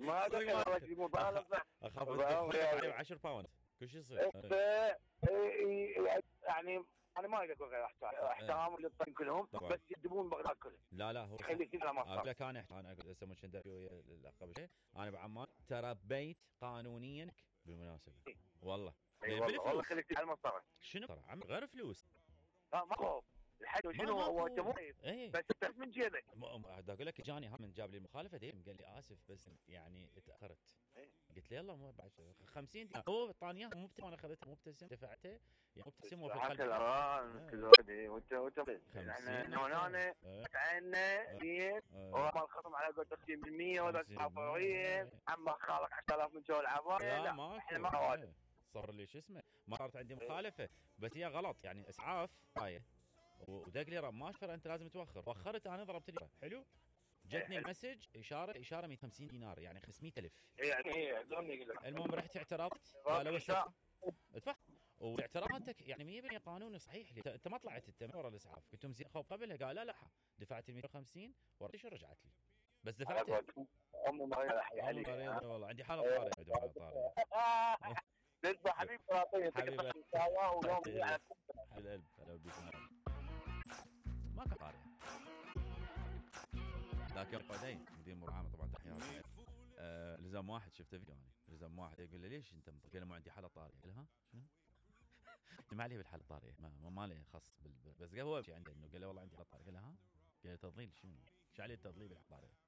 ما دخل والله شي مبالغه. اخاف تدخل عليه 10 باوند كل شيء يصير. يعني انا ما اقدر اقول غير احترام للطين كلهم، بس يدبون بغداد كلهم. لا هو خلي كذا ما اقول لك انا اقول هسه مش قبل شيء انا بعمان تربيت قانونيا بالمناسبه والله. والله خليك على المسطره. شنو عم غير فلوس؟ ما خوف الحد شنو هو انت مو بس انت من جيبك. اقول لك جاني من جاب لي المخالفه قال لي اسف بس يعني اتاخرت. قلت له يلا مو بعد 50 دينار هو طانيه مو انا اخذتها مبتسم دفعته يعني مبتسم وفي القلب وانت احنا هنا عنا زين وما الخصم على قول 60% ولا فوريا عم خالق 10000 من جو العبايه. لا ما صار لي شو اسمه ما صارت عندي مخالفه بس هي غلط يعني اسعاف هاي ودق لي ما اشفر انت لازم توخر. وخرت انا ضربت لي حلو جتني المسج اشاره 150 دينار يعني 500,000 يعني المهم رحت اعترضت قالوا ادفع واعتراضاتك يعني 100% قانوني صحيح لي انت ما طلعت انت ورا الاسعاف كنتم زين خوف قبلها قال لا دفعت ال 150 ورجعت رجعت لي بس دفعت امي مريضه والله عندي حاله طارئه لسه حبيبي حبيبي ويوم القلب هلا بيكم ما كان طارئ لكن قدين مدير مرعامه طبعا تحياتي لزم واحد شفته فيديو انا لزم واحد يقول لي ليش انت قال له ما عندي حاله طارئه قال ها شنو ما عليه بالحاله الطارئه ما له خص بس هو شيء عنده انه قال له والله عندي حاله طارئه قال له ها قال له تضليل شنو ايش عليه التضليل بالحاله الطارئه